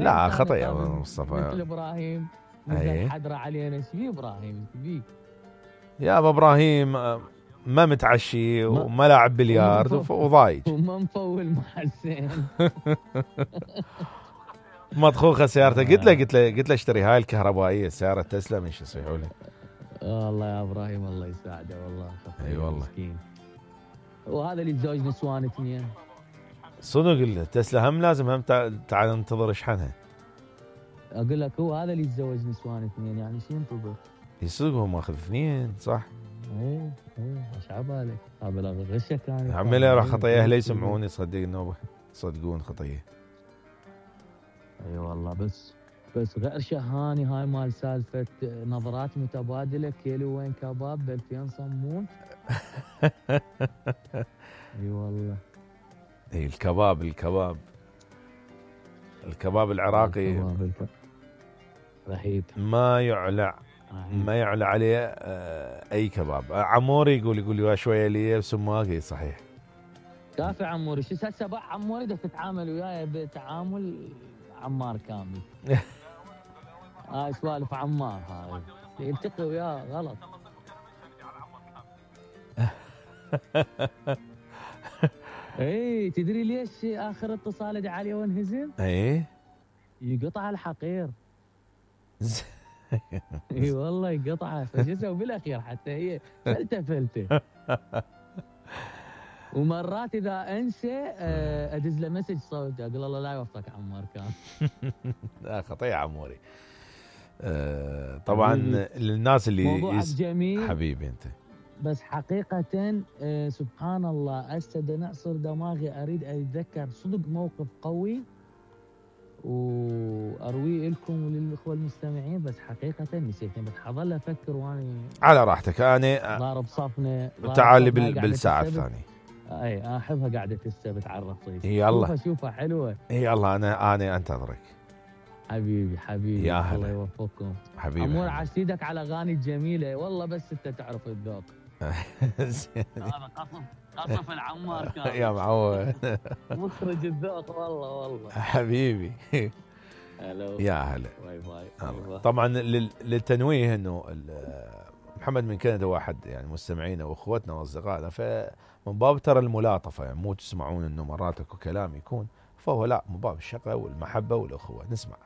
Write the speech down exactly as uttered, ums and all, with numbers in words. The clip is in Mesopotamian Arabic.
لا خطأ يا مثل مصطفى. ابراهيم مثل حدرة علينا. ايش بيه ابراهيم؟ ايش بيه؟ يا ابو ابراهيم ما متعشي وما لاعب بلياردو وضايج وما مفول مع حسين. مطخوخه سيارته. قلت له قلت له قلت له اشتري هاي الكهربائيه سياره تسلا من شو يصيحوا لي. والله يا ابراهيم الله يساعده والله. اي والله مسكين. وهذا اللي يتزوج نسوان اثنين صدق. تسلا هم لازم هم تعال ننتظر اشحنها. اقول لك هو هذا اللي يتزوج نسوان اثنين يعني شو ينتظر؟ يصدق هو ماخذ اثنين صح؟ ايه ايه ايش عبالك؟ هذا غشه كان عمي راح خطيه اهله يسمعوني صدق انه صدقون خطيه. اي أيوة والله. بس بس غير شهاني هاي مال سالفه نظرات متبادله كيلو وين كباب ب ألفين صمون. اي أيوة والله. اي الكباب الكباب الكباب العراقي الكباب رهيب ما يعلى ما يعلى عليه اي كباب. عموري يقول يقول لي شويه لي بسماقي صحيح. كافي عموري. شو هسه بقى عموري بدك تتعامل وياي بتعامل عمار كامل. هاي سوالف عمار هاي يلتقي وياه غلط. اي تدري ليش اخر اتصال ادعى عليه وانهزم؟ اي يقطع الحقير. اي والله يقطعه. فشو اسوي بالاخير حتى هي فلته فلته. ومرات اذا انسى ادز له مسج صوت اقول الله لا يوفقك عمار كان. لا خطيه عموري. أه طبعا للناس اللي موضوعك جميل حبيبي انت. بس حقيقة أه سبحان الله هسه نعصر دماغي اريد اتذكر صدق موقف قوي وارويه لكم وللاخوه المستمعين بس حقيقة نسيتني. بس حظل افكر واني على راحتك. انا ضارب صفنه تعال بالساعة الثانية. اي احبها قاعدة السبت على الرصيف. يلا شوفها شوفها حلوة. يلا انا انا انتظرك حبيبي حبيبي. يا هلا. الله يوفقكم حبيبي. عمور عسيدك على اغاني جميلة والله بس انت تعرف الذوق. هذا قصف قصف العمار كان يا معود. مخرج الذوق والله والله. حبيبي. هلو يا هلا. باي باي. طبعا للتنويه انه محمد من كندا واحد يعني مستمعينا واخوتنا واصدقائنا فمن باب ترى الملاطفه يعني مو تسمعون انه مرات اكو كلام يكون فهو لا من باب الشقه والمحبه والاخوه. نسمع.